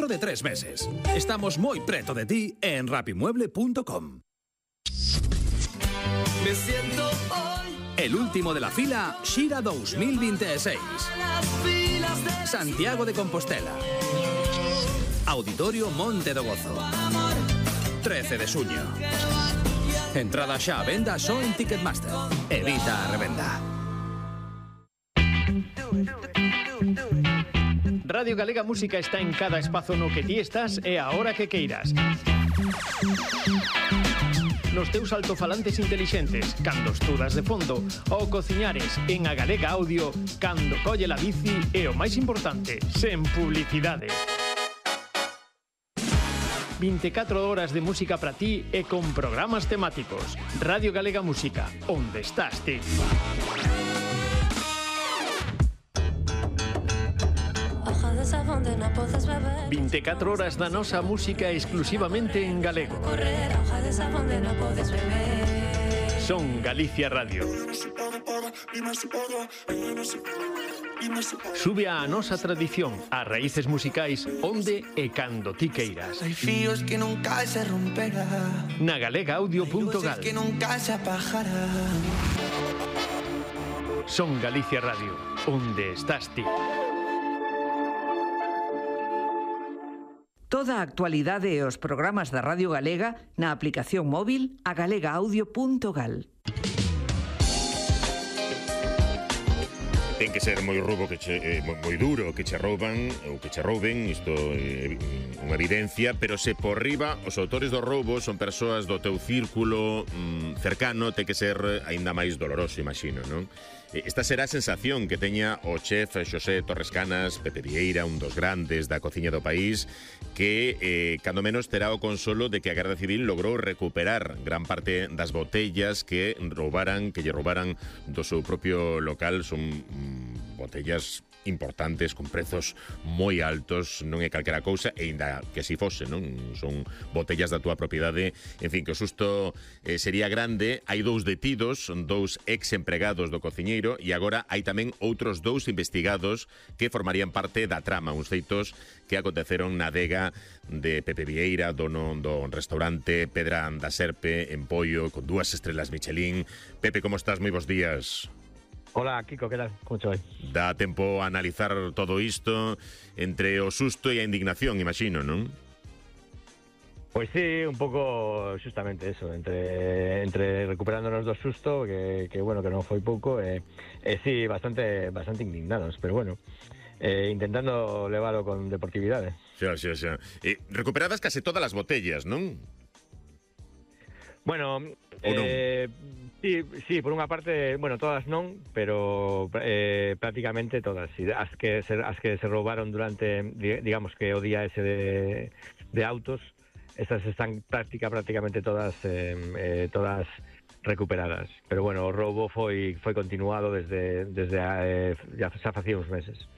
de 3 meses. Estamos moi preto de ti en rapimueble.com. Me siento hoy El último de la fila, Xira 2026. Santiago de Compostela. Auditorio Monte do Gozo. 13 de xuño. Entrada xa a venda só en Ticketmaster. Evita a revenda. Radio Galega Música está en cada espazo no que ti estás e a hora que queiras. Nos teus altofalantes intelixentes, cando estudas de fondo, ou cociñares en a Galega Audio, cando colle la bici e o máis importante, sen publicidade. 24 horas de música para ti e con programas temáticos. Radio Galega Música, onde estás ti. 24 horas da nosa música exclusivamente en galego. Son Galicia Radio. Sube a nosa tradición, a raíces musicais, onde e cando ti queiras. Hay fíos que nunca se romperán. Na galegaaudio.gal. Que nunca se apagarán. Son Galicia Radio, onde estás ti. Toda a actualidade e os programas da Radio Galega na aplicación móvil a galegaaudio.gal. Ten que ser moi rubo, moi duro que che rouban ou que che rouben, isto é unha evidencia, pero se por riba os autores do roubo son persoas do teu círculo cercano, ten que ser aínda máis doloroso, imagino, non? Esta será a sensación que teña o chef Xosé Torres Canas, Pepe Vieira, un dos grandes da cociña do país, que cando menos terá o consolo de que a Garda Civil logrou recuperar gran parte das botellas que lle roubaran do seu propio local. Son botellas importantes, con prezos moi altos, non é calquera cousa, e ainda que así fose, non? Son botellas da túa propiedade. En fin, que o susto sería grande. Hai 2 detidos, 2 ex-empregados do cociñeiro, e agora hai tamén outros 2 investigados que formarían parte da trama, uns feitos que aconteceron na adega de Pepe Vieira, dono do restaurante Pedra da Serpe, en Poio, con 2 estrelas Michelin. Pepe, como estás? Moi bons días. Hola, Kiko, que tal? Como te vai? Dá tempo a analizar todo isto entre o susto e a indignación, imagino, non? Pois sí, un pouco justamente eso, entre recuperándonos do susto, que bueno, que non foi pouco, sí, bastante indignados, pero bueno, intentando leválo con deportividade. Xa. Recuperadas case todas as botellas, non? Bueno, sí, por unha parte, bueno, todas non, pero prácticamente todas. Sí, as que se roubaron durante, digamos que o día ese de autos, estas están prácticamente todas recuperadas. Pero bueno, o roubo foi continuado desde xa facía uns meses.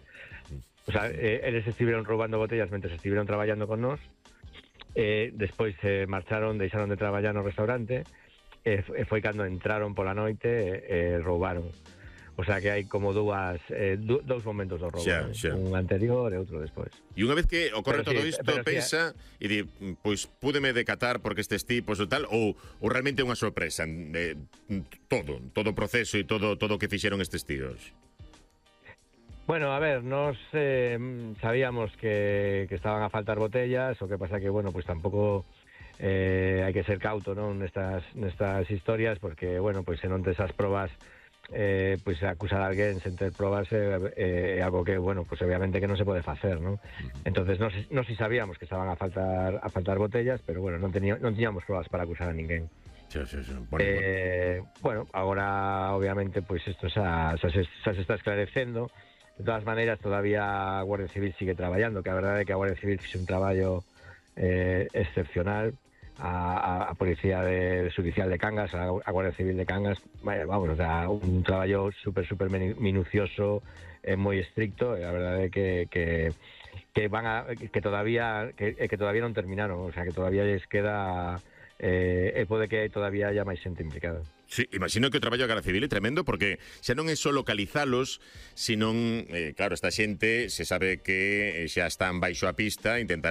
O sea, eles estiveron roubando botellas mentre estiveron traballando con nós. Despois marcharon, deixaron de traballar no restaurante, foi cando entraron pola noite e roubaron. O sea que hai como dous momentos do roubo, xa. Un anterior e outro despois. E unha vez que ocorre todo isto, pensa sí, e di, pois púdeme decatar porque estes tipos ou tal, ou realmente é unha sorpresa, todo o proceso e todo o que fixeron estes tíos. Bueno, a ver, nos sabíamos que estaban a faltar botellas, o que pasa que, bueno, pues tampouco hai que ser cauto, non, nestas historias, porque, bueno, pues se non tes as probas, pues acusar a alguén sen ter probas é algo que, bueno, pues obviamente que non se pode facer, non? Entonces, nos si sabíamos que estaban a faltar botellas, pero, bueno, non tiñamos probas para acusar a ninguén. Sí. Bueno, agora, obviamente, pues isto xa se está esclarecendo. De todas maneiras, todavía a Guardia Civil sigue traballando, que a verdade é que a Guardia Civil fixe un traballo excepcional. A Policía Judicial de Cangas, a Guardia Civil de Cangas, vamos, o sea, un traballo super minucioso, moi estricto, e a verdade é que todavía non terminaron, o sea, que todavía les queda, pode que todavía haya máis xente implicada. Sí, imagino que o traballo da Garda Civil é tremendo, porque xa non é só localizalos, senón, claro, esta xente se sabe que xa están baixo a pista, intentará